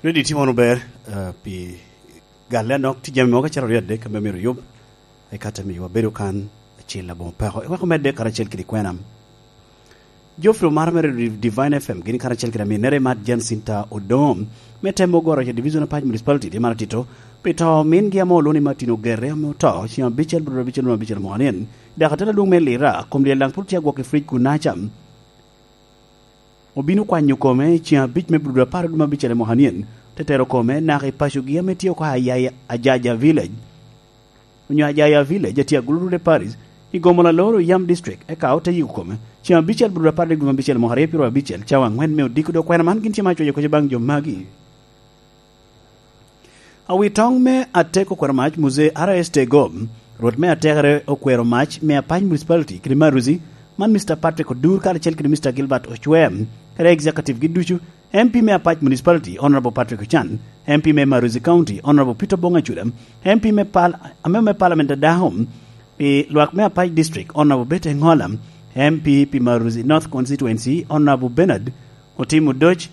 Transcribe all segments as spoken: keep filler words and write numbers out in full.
Redi tye mono ber, eh, pi galle anok, tye jami mogo acel aryo adek ame myero oyub, eka te miyo wabedo kan acel aboŋo peko. Eweko medde karacel kede kwena. Geoffrey Omara me Redio Divine F M gin karacel kede aminnere Mat Jacinta Odongo me temo goro i Division Apac Municipality tye man atito pi to mingi ame olwoŋo ni Martin Ogere ame oto ceŋ abicel, bro abicel, bro abicel mwaka nyen. Dok atela lwong me Lira, kom lyel daŋ pwod tye agwok i fridge kun naca. Obino kwanyo kome i ceŋ abic me Brudu apar dwe me abicel i mwaka nyen, te tero kome naka i pacogi ame tye oko Ayaya, Ajaja Village, onyo Ajaya Village, atye agulu Rude Paris, i gomo laloro Yam District, eka ote yiko kome ceŋ abicel Brudu apar dwe me abicel i mwaka aryo pyeraryo abicel, cawa angwen me odiko. Dok kwena man gin tye ma acweco kece baŋ jo magi. Awitoŋ me atek okwero mac Muzee R S Tegom, Rwot me atekere okwero mac me Apac Municipality kede Maruzi, man Mister Patrick Odur karacel kede Mister Gilbert Ocwer, kede executive gi ducu, M P me Apac Municipality, Honorable Patrick Ochan, M P me Maruzi County, Honorable Peter Bonga Chuda, M P me Pal-, ame me Parliament a dako, pi lwak me Apac District, Honorable Betty Engola, M P pi Maruzi North Constituency, Honorable Bernard Otim Odoc,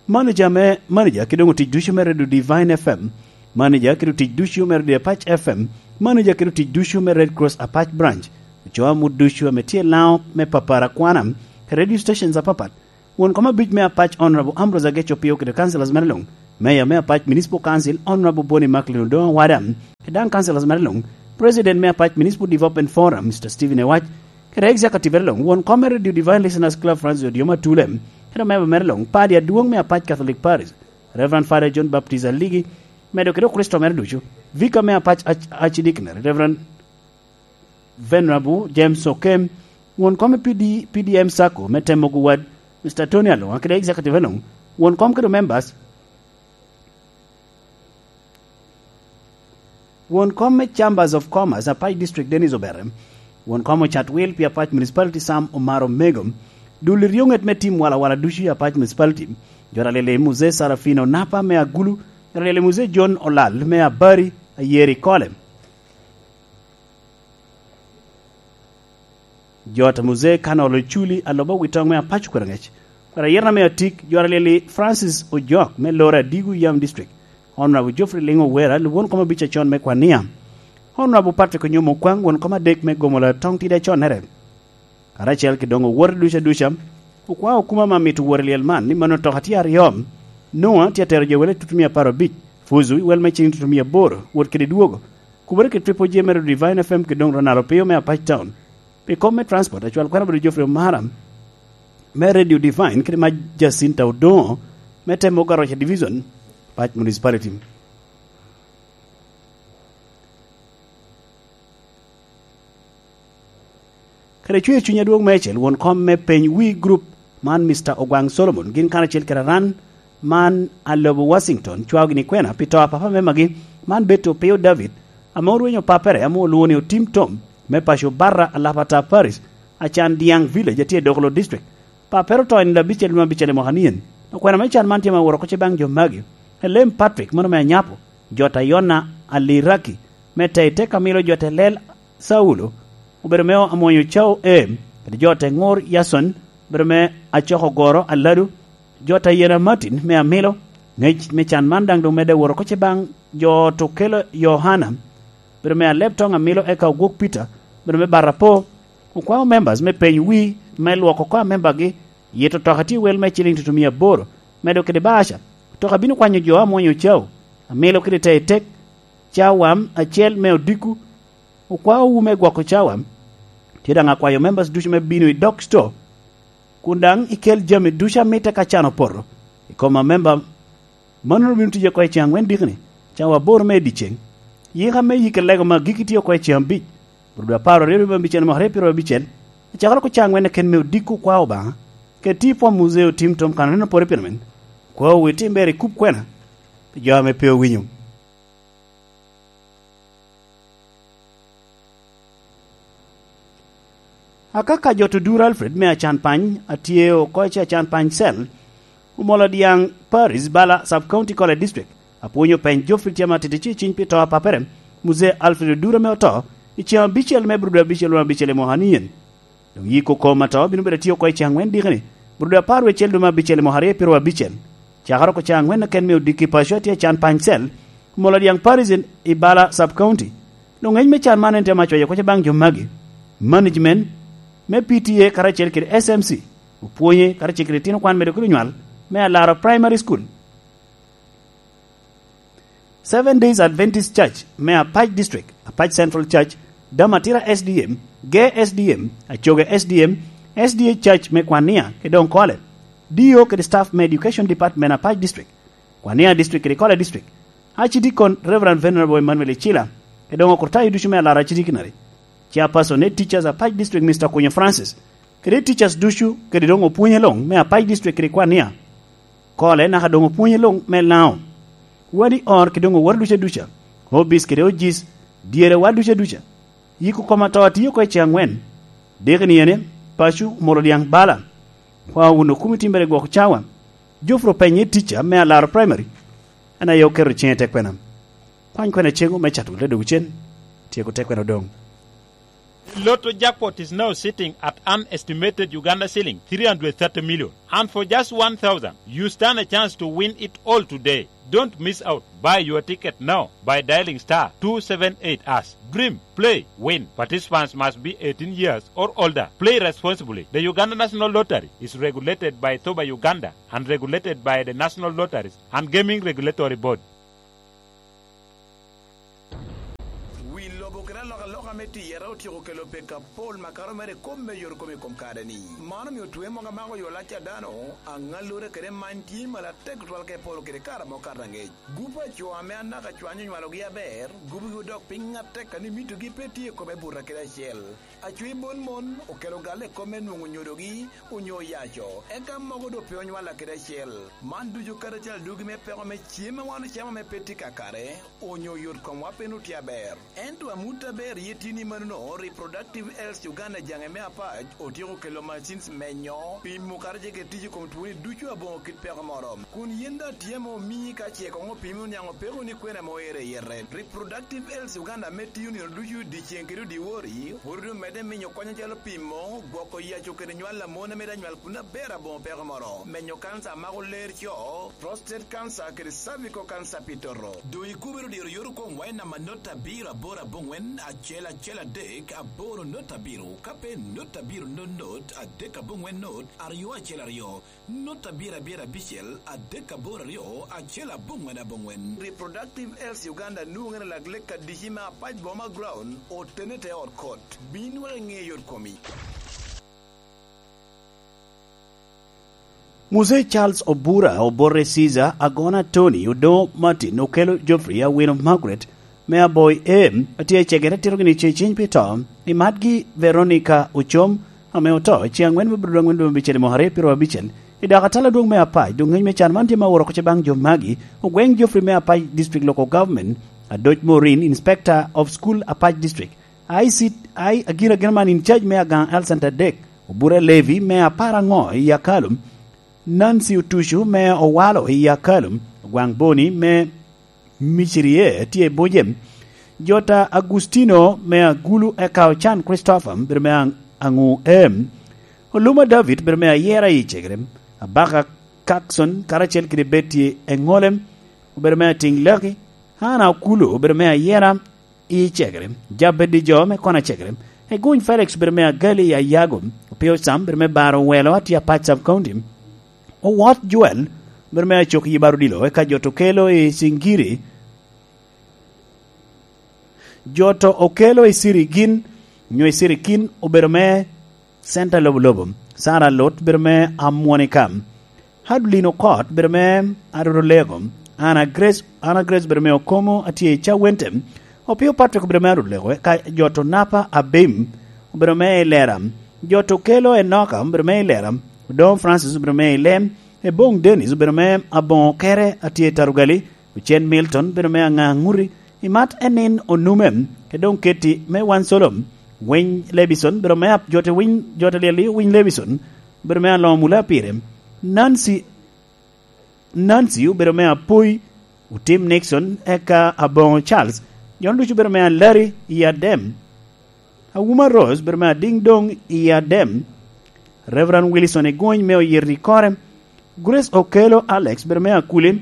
Manager me, manager kede otic ducu me Radio Divine F M, manager kede otic ducu me Radio Apac F M, manager kede otic ducu me Red Cross Apac Branch, ocoa mut ducu ame tye i Lango me Papara Kwana, kede radio stations apapat. Won kom abic me Apac Honorable Ambrose Ageco Pio kede councillors mere luŋ, Mayor me Apac Municipal Council Honorable Bonnie Macklin Odongo Awada, kede daŋ councillors mere luŋ, President me Apac Municipal Development Forum Mister Stephen Ewac, kede executive mere luŋ, won kom me Radio Divine Listeners Club Francis Odyoma Atule, kede member mere luŋ, padi adwoŋ me Apac Catholic Parish, Reverend Father John Baptist Aligi, medo kede Okricito mere ducu, Vicar me Apac Arch-, Archdeaconry, Reverend Venerable James Okem, won kom me P D, P D M Sacco me Temogo Ward, Mister Tony Alonga, kede executive mere luŋ, won kom kede members, Won kom me Chambers of Commerce, Apac District, Dennis Obere. Won kom Ocatwil pi Apac Municipality, Sam Omaro Mego. Dul i ryoŋet me tim walawala ducu i Apac Municipality. Jo a lyel i Muzee Sarafino Napa me Agulu, jo a lyel i Muzee John Olal me Abari, Ayeri Kole. Jo a Muzee Kanolo Culi, alobo wi toŋ me Apac Kweraŋec. Kwena Yerna me Atik, jo a lyel i Francis Ojok me Lora Adigu, Yam District. Honorable Geoffrey Lingo Wera, won kom abic acon me Kwania. Honorable Patrick Onyomo Okwaŋ, won kom adek me Gomola Toŋ Tide Aconnere. Karacel kede doŋ owote ducu aduca, okwaŋ okuma ame amito wot i lyel man, ni mano otoka tye aryo. Noa tye atero jo wele tutumia apar abic, Fuzu i wel me cing tutumia aboro, wot kede dwogo. Kubere kede Triple J me Radio Divine F M kede doŋ Ronaldo Pio me Apac Town. Pi kop me transport, acwal kwena obedo Geoffrey Omara me Radio Divine kede Maj Jacinta Odongo me Temo Garoca Division, Pac Municipality. Kede cwer cuny adwoŋ meicel, won kom me peny wi grup man, Mister Ogwaŋ Solomon, gin karacel kede aran man a lobo Washington, cwao gini kwena pi to a papa me magi, man Beto Pio David, ame orwenyo papere ame olwoŋo ni Otim Tom, me paco Barra, Alapata Parish, Acan Diaŋ Village, atye i Dokolo District. Papere oto i nino abicel dwe me abicel i mwaka nien. Okwena me can man tye ma woro oko ce baŋ jo magi. Elem Patrick, mano me Anyapo, Jota Yona Aliraki, me Teitek, amilo Jota Lel Saulo, obedo me Amwonyo Cao Em, kede Jota Ŋor Yason, obedo me Acoko Goro Aladu, Jota Yena Martin me Amilo. Ŋec me can man daŋ doŋ medde woro oko ce baŋ Jota Okelo Yohana, obedo me Aleb Toŋ Amilo, eka Ogwok Peter, obedo me Barapo. Okwaŋo members me peny wi me lwoko oko amembagi, yito otoka tye wel me ciliŋ tutumia aboro, medo kede baca. Otoka bino kwanyo jo a mwonyo cao, amilo kede tei tek, cawam acel me odiko. Okwaŋo wu me gwoko cawam. Tye daŋ akwayo members ducu me bino i dog store, kun daŋ ikel jami ducu a mitte ka can opoto. I kom amemba, mano bino tic oko i ceŋ aŋwen dikni, cawa aboro me i dyeceŋ. Yika me yik i lego me agikki tye oko i ceŋ abic, Rwod apar oryo ryo abicel mwaka aryo pyeraryo abicel, acakere oko caŋ wene ken me odiko kwa Obaŋa, keti i pwom Muzee Otim Tom kan oneno pore pire men. Kwa owe tim ber i kub kwena, pi jo ame pe owinyo. Akaka Jot Odur Alfred me Acan Pany, atye oko i Acan Pany Cell, Omolo Diaŋ Paris, Bala Sub County College District, apwonyo peny Geoffrey tye matidi ci ciny pi to a papere, Muzee Alfred Odur ame oto, i ceŋ abicel me Brudu abicel won abicel i mwaka nien. Doŋ yiko kom ato bino bedo atye oko i ceŋ aŋwen dikini, Brudu apar wecel dwe me abicel i mwaka aryo pyeraryo abicel. Cakere oko ca angwen keken me odiki paco atye acan pany cel, molo dyaŋ Paris i Bala Sub County. Luŋec me can man en te ma cwayo kocce baŋ jo magi, management me P T A karacel kede S M C, opwonye karacel kede tino kwan medo kede onywal me Alaro Primary School. Seven Days Adventist Church me Apac District, Apac Central Church, Damatira S D M, Ge S D M, Acoge S D M, S D A Church me Kwania, kede Onkole, D O kede staff me Education Department Apac District, Kwania District kede Kole District, Archdeacon Reverend Venerable Emmanuel Icila, kede doŋ okrutayo ducu me alara Archdeaconry, Chairperson ne Teachers Apac District Mister Kunyo Francis, kede teachers ducu, kede doŋ opwonye luŋ me Apac District kede Kwania, Kole naka doŋ opwonye luŋ me Laŋo, wadi or kede doŋ owor duca duca, obis kede ojis, dyere wa duca duca. Yiko koma to atio oko i ce angwen. Diki ni ene, paco omolo dyaŋ bala. Kwa wun okumi timbere gwok cawa. Jofro penye ticca me Alaro Primary. En aye oketo ciŋe tek kwena. Kwany kwena ceŋo me cato wot ledo wucen. Tyeko tek kwena odoŋ. The Lotto jackpot is now sitting at an estimated Uganda shilling three hundred thirty million. And for just one thousand, you stand a chance to win it all today. Don't miss out. Buy your ticket now by dialing star two seven eight hash. Dream, play, win. Participants must be eighteen years or older. Play responsibly. The Uganda National Lottery is regulated by Thoba Uganda and regulated by the National Lotteries and Gaming Regulatory Board. Wi lobo kede alokaloka me tiyere otyeko kelo peko apol makato mere i kom me yot kom i kom kare-ni. Man omio twe mogo amako yo lac a dano, aŋallure kede many tye malo atek tutwal ka iporo kede kare amo kato aŋec. Gup a co ame anaka cwanyo onywalogi aber, gubogi odok piny atek a ni mitogi pe tye i kome buta kede acel. Acwi bon mon okelo galle i kom me nwoŋo nyodogi onyo oyaco, eka mogo doŋ pe onywalla kede acel. Man ducu karacel adugi me peko me cem a wan ocamo ame pe tye kakare, onyo yot komwa pe nwoŋo tye aber. Ento amut aber ye tye ni manono, Reproductive Health Uganda jaŋe me Apac otyeko kelo machines menyo, pimo kadi ce kede tic i kom twoni ducu aboŋo kit peko moro. Kun yen daŋ tye ame omii ka ce koŋ opimi oniaŋ opeko ni kwena ame oero i yete. Reproductive Health Uganda ame tiyo nino ducu dyeceŋ kede odyewor, pwod omedde minyo kony acalo pimo, gwoko yaco kede nywal a mon ame daŋ nywal kun aber aboŋo peko moro, menyo kanca a mako ler co, prostate cancer kede cervical cancer pi toto. Doŋ ikobere odiro yot okoŋ wa i namba not abiro aboro aboŋwen acel acel adek aboro not abiro, ka pe not abiro not not adek aboŋwen not aryo acel aryo, not abiro abiro abicel adek aboro aryo acel aboŋwen aboŋwen. Reproductive Health Uganda nwoŋere lak lek adici me Apac Boma Ground, otene te ot kot. Bin wek iŋe yot komi. Muse Charles Obura, Obote Caesar, Agona Tony, Odoŋo Martin, Okelo Geoffrey, Awino Margaret, me Aboi Em, atye i cegere tito gini ce ciny pi to, i matgi Veronica Ocom, ame oto, ce angwen me abiro dwe angwen dwe me abicel i mwaka aryo pyero abicel, i dok atala adwoŋ me Apac, doŋ ŋec me can man tye ma oworo oko ce baŋ jo magi, ogweŋ Geoffrey me Apac District Local Government, Adoc Maureen, Inspector of School Apac District, I C I, agin agin man in charge me Agaŋ Health Center dek, Obura Levi me apar aŋo i Akalo, Nancy Otucu me Owalo i Akalo, Ogwaŋ Boni me Micirie tye i Bujem, Jota Agustino me Agulu eka Ocan Christopher bedo me Aŋ-, Aŋu Em, Oluma David bedo me Ayera i Cegere, Abaka Kakson karacel kede Betty Eŋolem obedo me Atiŋ Laki, Hana Okulu obedo me Ayera, i Cegere, Jabed i jo me Kona Cegere, Eguny Felix bedo me Agali i Ayago, Opio Sam bedo me Baro Welo atye Apac Sub County, Owot Joel bedo me Acok i Baro Odilo, eka jo to kelo i Cingiri, jo to okelo i Sirigin, nyo i Sirikin obedo me Center Lobo Lobo, Sara Lut bedo me Amwonika, Hadulin Okot bedo me Aroro Lego, Ana Grace, Ana Grace bedo me Okomo atye i Cawente, Opio Patrick bedo me Aroro Lego, eka jo to Napa Abim obedo me Ilera, jo to Kelo Enoka obedo me Ilera, Odongo Francis obedo me Ilem, Ebong Dennis obedo me Abongo Kere atye i Tarugali, Ocen Milton bedo me Aŋa Aŋuti, Imat Enin Onume, Edong Ketti me Wan Solom, Winy Lebison bedo me ap-, jo te winy, jo te lyel i Winy Lebison, obedo me Aloma Mula pire. Nancy, Nancy obedo me Apoi, Otim Nixon, eka Aboŋo Charles, jo ducu obedo me Alari i Adem. Awuma Rose obedo me Adiŋ Doŋ i Adem. Reverend Wilson Egony me Oyito i Kore, Grace Okelo Alex, bedo me Akuli.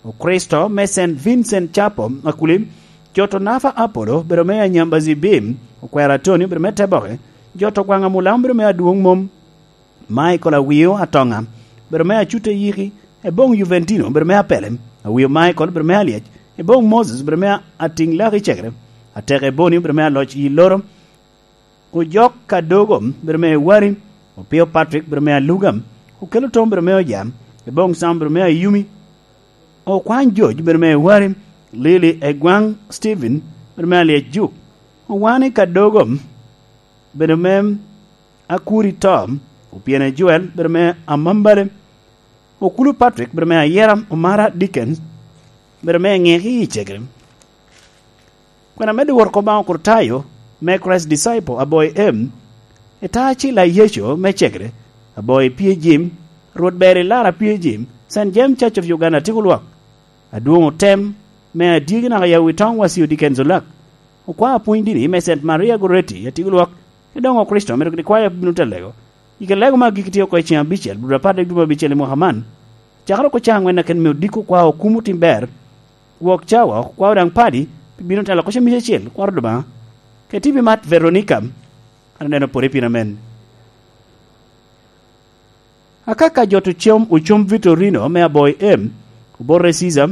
Okristo me Saint Vincent Chapel, Akuli. Joto Nafa Apollo, bedo me Anyambazi Bim. Okwero Atoni, bedo me Teboke. Joto Gwaŋ Amulamo, bedo me Adwoŋ Mom. Michael Awio Atonga, bedo me Acute Yiki. Eboŋ Juventino, bedo me Apelem. Awio Michael, bedo me Alyec. Eboŋ Moses, bedo me Atiŋ Laki Cegere. Ateke Boni, bedo me Aloc Yi Loro. Ojok Kadogo, bedo me Ewari. Opio Patrick, bedo me Aluga. Okelo Tom, bedo me Ojam. Eboŋ Sam, bedo me Ayumi. Okwany George, bedo me Ewari. Lili Egwaŋ Stephen, bedo me Alyec Juk. Owani Kadogo, bedo me Akuri Tom. Opyene Joel, bedo me Amambale. Okulu Patrick, bedo me Ayera. Omara Dickens, bedo me Ŋeki i Cegere. Kwena medde wot oko baŋ Okritayo me Christ Disciple, Aboy M. Eta Acila Yecu me Cegere, Aboy P G, Rwot Ber Ilara P G, Saint James Church of Uganda, Atyeko Lwak. Adwoŋ Otem me Adyegi naka Yawi Toŋ Wasio Dickens Olak. Okwa apwony dini me Saint Maria Goretti, Atyeko Lwak. Idoŋo Kricito, omito kede kwayo bino te lego. I kin lego me agikki tye oko i ceŋ abicel, dwe apar dek dwe me abicel i mwaka man. Cakere oko cawa aŋwen aken me odiko kwa okumo tim ber. Gwok cawa, kwa daŋ padi, pi bino telo koca mic acel, kwaro Obaŋa. Keti pi mat Veronica, an aneno pore pien amen. Akaka jot ocom, ocom Vitorino me Aboy M, Oborre Caesar,